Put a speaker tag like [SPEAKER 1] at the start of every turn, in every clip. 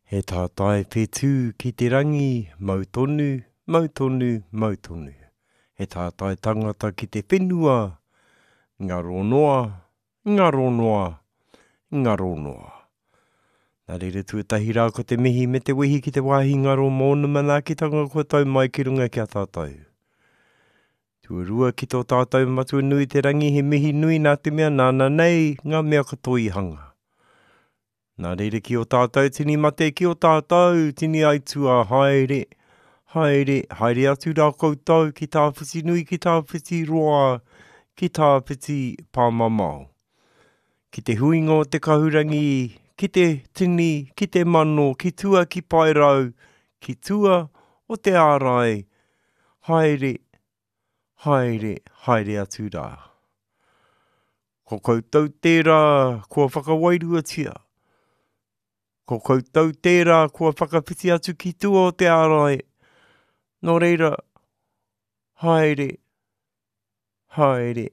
[SPEAKER 1] He tātai whetū ki te rangi, mau tonu, mau tonu, mau tonu. He tātai tangata ki te whenua, ngaro noa, ngaro noa, ngaro noa. Nā reira tuatahi rā ko te mihi me te wehi ki te wāhi ngaro mōna manaakitanga kua tau mai ki runga ki a tātou. Tuarua ki tō tātou Matua nui te rangi he mihi nui nā te mea nāna nei ngā mea katoa i hanga. Nā reira ki ō tātou tini mate, ki ō tātou tini aituā, haere, haere, haere atu rā koutou ki tāwhiti nui, ki tāwhiti roa, ki tāwhiti pāmamao. Ki te huinga o te kahurangi, ki te tini, ki te mano, ki tua ki paerau, ki tua o te ārai, haere, haere, haere atu rā. Ko koutou tērā kua whakawairuatia. Ko koutou tērā kua whakawhiti atu ki tua o te ārai. Nō reira, haere, haere,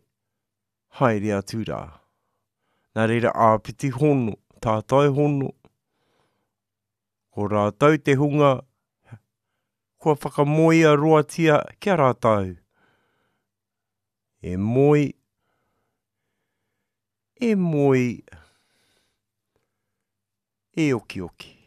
[SPEAKER 1] haere atu rā. Nā reira, āpiti hono, tātai hono, ko rātou te hunga kua whakamoea roatia ki a rātou. E moe, e moe, e okioki.